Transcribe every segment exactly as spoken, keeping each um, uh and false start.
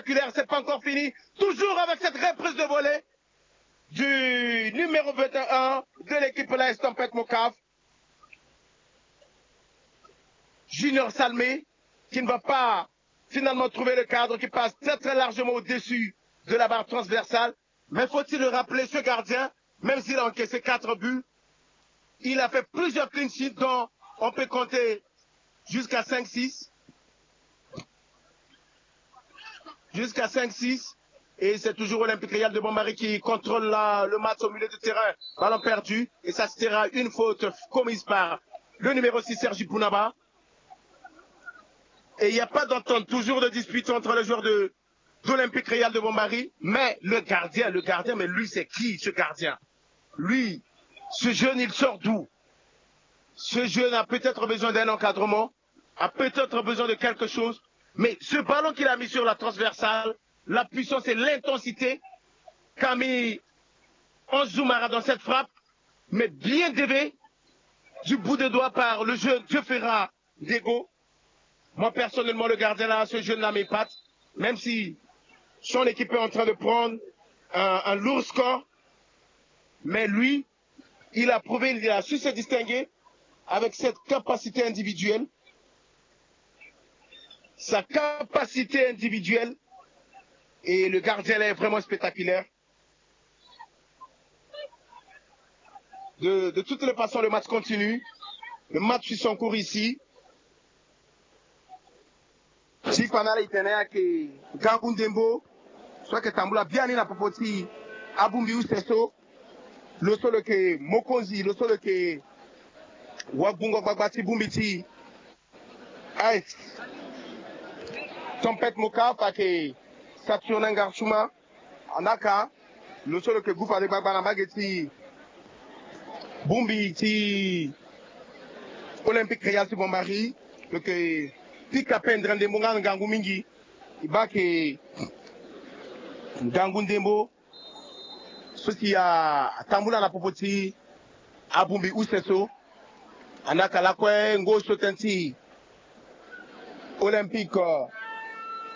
spectaculaire, c'est pas encore fini. Toujours avec cette reprise de volée du numéro vingt et un de l'équipe, la Estampette Mocaf, Junior Salmé, qui ne va pas finalement trouver le cadre, qui passe très très largement au-dessus de la barre transversale. Mais faut-il le rappeler, ce gardien, même s'il a encaissé quatre buts, il a fait plusieurs clean sheets dont on peut compter jusqu'à cinq six. Jusqu'à cinq six. Et c'est toujours Olympique Real de Bombari qui contrôle la, le match au milieu de terrain. Ballon perdu. Et ça sera une faute commise par le numéro six, Sergi Bounaba. Et il n'y a pas d'entente. Toujours de dispute entre les joueurs de, d'Olympique Real de Bombari. Mais le gardien, le gardien, mais lui, c'est qui, ce gardien? Lui, ce jeune, il sort d'où? Ce jeune a peut-être besoin d'un encadrement, a peut-être besoin de quelque chose. Mais ce ballon qu'il a mis sur la transversale, la puissance et l'intensité qu'a mis Ange Zoumara dans cette frappe, mais bien dévié du bout des doigts par le jeune Dieuferra Dego. Moi, personnellement, le gardien là, ce jeune-là m'épate, même si son équipe est en train de prendre un, un lourd score. Mais lui, il a prouvé, il a su se distinguer avec cette capacité individuelle. Sa capacité individuelle, et le gardien là est vraiment spectaculaire. De, de toutes les façons, le match continue. Le match suit son cours ici. Ti fa na ala e tene ayeke ngangu ndembo so ayeke tambula biani na popo ti abongbi use so. Lo so lo yeke mokonzi, lo so lo yeke wagbungo gbagba ti bongbi ti A S Tempête Mocaf ayeke Saturnin Ngarchuma. Anaka, lo so lo yeke gu fade gbagba na mbage ti bongbi ti Olympique Real ti Bombari, lo yeke pika pendre ndembo nga na ngangu mingi. E baa ayeke ngangu ndembo so si atambula na popo ti abongbi use so. Anaka lakue ngoi so tënë ti Olympique, euh,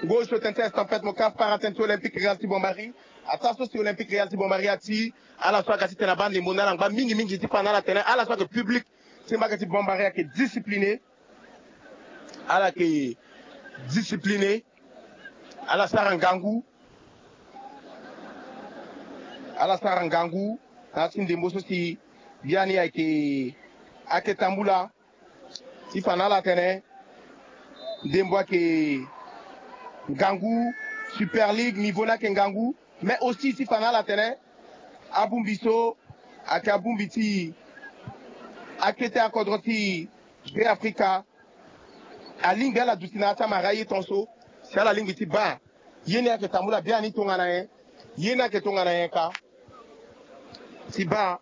ngoi so tënë ti Estampette Mocaf para tënë ti Olympique Real ti Bombari. Ataa so si Olympique Real ti Bombari ati, ala so aga titene abaa ndembo na ala ngba mingi mingi ti fa na ala tene ala so ayeke public ti mbage ti Bombari ayeke discipliné. Ala yeke discipliné. Ala sara ngangu. Ala sara ngangu na ya ti ndembo so si biani ayeke, ayeke tambula. Ti fa na ala tene ndembo ayeke ngangu, Super League, niveau ni ayeke ngangu. Mais aussi ti fa na ala tene abongbi so ayeke abongbi ti akete akodro ti Beafrika. Alingbi ala duti na ya ti amara ye tongaso si ala lingbi ti baa ye ni ayeke tambula biani tongana nyen. Ye ni ayeke tongana nyen ka. Ti baa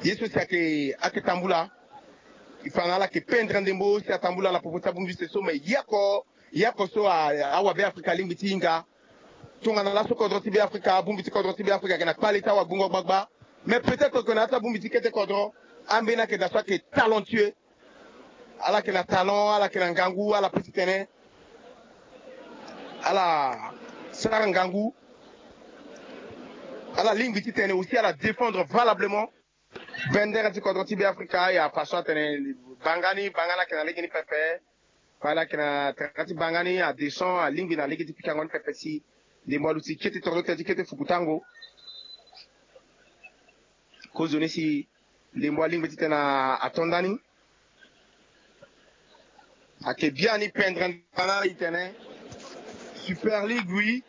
ye so si ayeke, ayeke tambula. E fa na ala yeke pendre ndembo si atambula na popo ti abongbi use so, me ye oko, ye oko so a, awabeafrika alingbi ti hinga. Tongana laso kodro ti Beafrika, abongbi ti kodro ti Beafrika ayeke na kpale ti awagbongo gbagba. Mais peut-être que na ya ti abongbi ti kete kodro, ambeni ayeke daa so ayeke talentueux. Ala yeke na talent, ala yeke na ngangu, ala peut ti tene ala sara ngangu. Ala lingbi ti tene aussi ala défendre valablement bendere ti kodro ti Beafrika. Ya façon atene banga ni, banga ni ayeke na lege ni pepe. Fade ayeke na terrain ti banga ni, adescend, alingbi na lege ti pikango ni pepe si ndembo aluti kete toro tënë ti kete fukutango. Kozoni si ndembo alingbi titene ato ndani. Ayeke biani pendre ndana itene Super League, oui.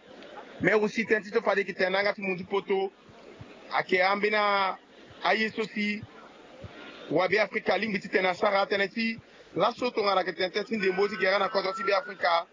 Mais aussi tënë ti so fade yeke tene na yanga ti mundu poto. Ayeke ambeni aye so si wabeafrika alingbi titene asara tënë ti laso tongana ayeke tene tënë ti ndembo ti gere na kodro ti Beafrika.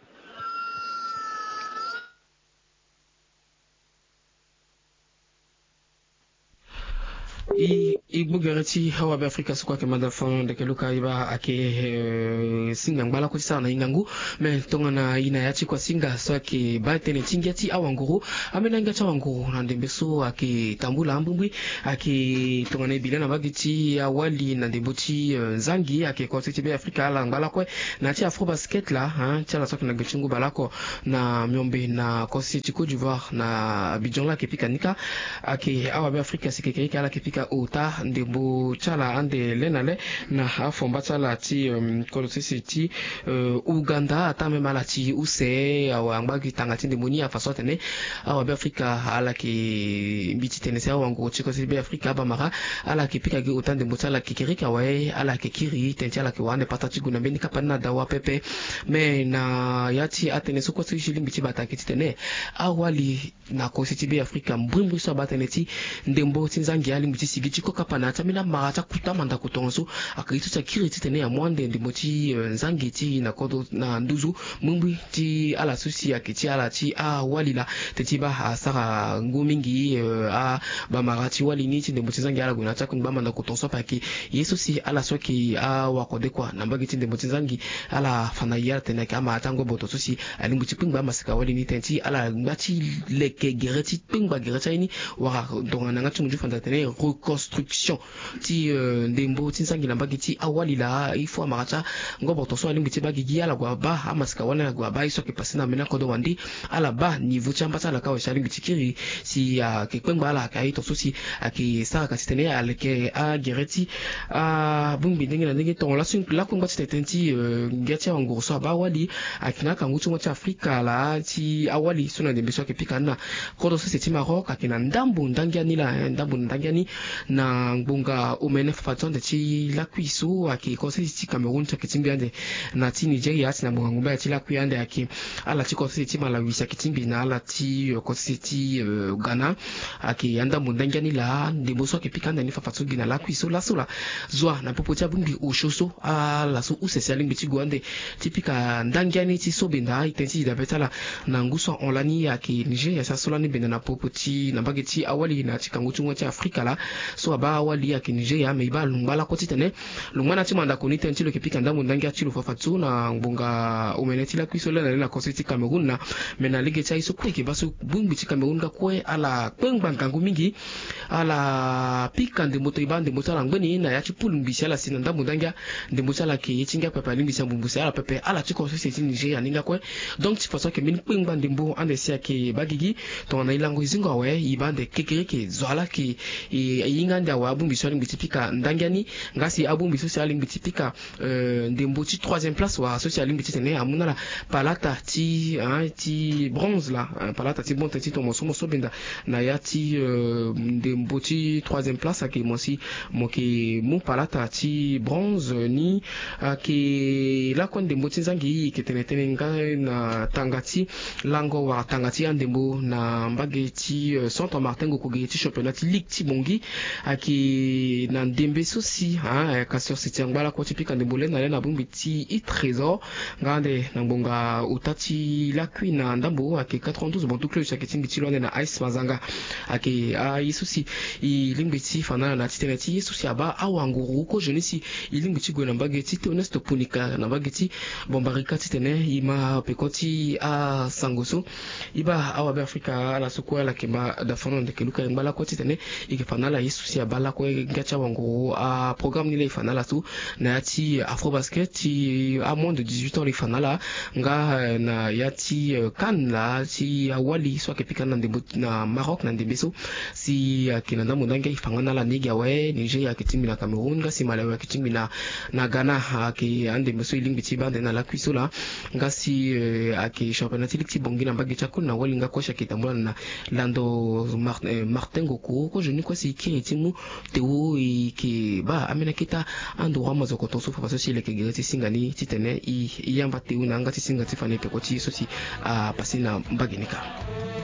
E gbu gere ti awabe afrika so kue ayeke manda fon ndeke luka e baa ayeke singa ngba lakue ti sara na e ngangu. Me tongana e na ya ti kua singa so ayeke baa tënë ti ngia ti awanguru, ambeni angia ti awanguru na ndembe so ayeke tambula ambumbui. Ayeke tongana e bi laa na mbage ti awali na ndembo ti nzangi ayeke kua ti ti be afrika ala ngba lakue na ya ti afro basket laa ti ala so ayeke na gbe ti ngu baleoko na miombe na kua ti ti côte d'ivoire na abidjan laa ayeke pika ni kâ. Ayeke awabe afrika si kekereke ala yeke pika ota ndembo ti ala ande le na le na afomba ti ala ti kodro sese ti uganda ataa même ala ti use awa angba gi tanga ti ndembo ni afa so atene awabe afrika ala yeke mbi ti tene si awanguru ti kua ti be afrika abamara ala yeke pika gi ota ndembo ti ala kekereke awe ala yeke kiri tene ti ala yeke wara ande pata ti gue na mbeni kapa ni na dawa pepe. Me na ya ti atënë so kue so e si lingbi ti bata ayeke titene awali na kosi ti be afrika mbrimbri so abaa tënë ti ndembo ti nzangi alingbi ti sigi ti kokapa na ya ti ambeni amara ti akuta mandako tongaso. Ayeke ye so si akiri titene amu ande ndembo ti nzangi ti e na kodro na nduzu mbrimbri ti ala so si ayeke ti ala ti awali laa. Teti baa asara ngu mingi abamara ti wali ni ti ndembo ti nzangi ala gue na ya ti akungba mandako tongaso ape ayeke ye so si ala so ayeke awakode kua na mbage ti ndembo ti nzangi ala fa na ye ala tene ayeke amara ti angoboto so si alingbi ti kpengba amasika wali ni tënë ti ala ngba ti leke gere ti kpengba gere ti aye ni wala tongana na yanga ti munzu fanda atene reconstruction ti ndembo ti nzangi na mbage ti awali laa il faut amara ti angoboto so alingbi ti baa gigi ala gue abaa amasika wali ni ala gue abaa ye so ayeke pase na ambeni akodro wande. Ala baa niveau ti amba ti ala kâ awe si alingbi ti kiri si ayeke kpengba ala ayeke aye tongaso si ayeke sara ka titene aleke agere ti abongbi ndenge na ndenge tonga laso lakue ngba ti tene tënë ti ngia ti awanguru so abaa awali ayeke na akangu ti mo ti afrika laa ti awali so na ndembe so ayeke pika ni na kodro sese ti maroc ayeke na ndambo ndangia ni laa ndambo na ndangia ni na ngbonga omene fafa ti ande ti lakui so ayeke kosese ti cameroun ti ayeke tingbi ande na ti nigeria si na ngbonga ngumba ya ti lakui ande ayeke ala ti kosese ti malawi si ayeke tingbi na ala ti kosese ti ghana. Ayeke andambo ndangia ni laa ndembo so ayeke pika ande ni fafa so gi na lakui so laso laa zo wa na popo ti abongbi osio so ala so use si alingbi ti gue ande ti pika ndangia ni ti so benda e tënë ti e dabe ti ala na ngu so ahon lani ayeke nigeria si aso lani benda na popo ti na mbage ti awali na ya ti kangu ti ngu ti afrika laa. So abaa awali ayeke nigeria me e baa lungba lakue titene lungba na ya ti mandako ni tënë ti lo yeke pika ndambo ndangia ti lo fafa so na ngbonga omene ti lakui so lani na le na kosese ti cameroun na me na lege ti aye so kue e yeke baa so bongbi ti cameroun nga kue ala kpengba ngangu mingi. Ala pika ndembo to e baa ndembo ti ala ngbeni na ya ti poule mbi si ala si na ndambo ndangia ndembo ti ala ayeke ye ti ngia pepe alingbi si ambumbu si ala pepe ala ti kosese ti nigeria ni nga kue. Donc ti façon ayeke mbeni kpengba ndembo ande si ayeke baa gigi tongana e lango e zingo awe e baa ande kekereke zo ala yeke e hinga ande awe abongbi so alingbi ti pika ndangia ni nga si abongbi so si alingbi ti pika ndembo ti troisième place wala so si alingbi titene amu na ala palata ti ti bronze laa palata ti bronze tënë ti tongo mo so mo so benda na ya ti ndembo ti troisième place ayeke mo si mo yeke mu palata ti bronze ni. Ayeke lakue ndembo ti nzangi e yeke tene tënë nga na tanga ti lango wala tanga ti andembo na mbage ti centre martin ngoko ge ti championnat ti ligue ti bongi. Ayeke na ndembe so si kasi ositi angba lakue ti pika ndembo le na le na bongbi ti e trésor nga ande na ngbonga ota ti lakui na ndambo ayeke quatre-vingt-douze bantu club si ayeke ti mbi ti lo ande na ice mazanga. Ayeke aye so si e lingbi ti fa na ala na ya ti tënë ti ye so si abaa awanguru kozoni si e lingbi ti gue na mbage ti teoneste ponika na mbage ti bombarika titene e ma peko ti asango so. E baa awabe afrika ala so kue ala yeke ma dafono ndeke luka e ngba lakue titene e yeke fa na ala ye so si abaa lakue nga ti awanguru aprograme ni laa e fa na ala so na ya ti afro basket ti amoin de dix-huit ans laa e fa na ala nga na ya ti cannes laa ti awali so ayeke pika ni na ndembo na maroc na ndembe so si ayeke na ndambo ndangia e fa nga na ala ni gi awe nigeria ayeke tingbi na cameroun nga si malawi ayeke tingbi na na ghana. Ayeke andembe so e lingbi ti baa ande na lakui so laa nga si ayeke championnat ti ligue ti bongi na mbage ti akoli na wali nga kue si ayeke tambula na lando martin ngoko kozoni kue si e kiri ti mu tewo e yeke baa ambeni aketa androit mazokoton so fafa so si e leke gere ti singa ni titene e yamba tewo na yanga ti singa ti fa na e peko ti ye so si apase na mbage ni kâ.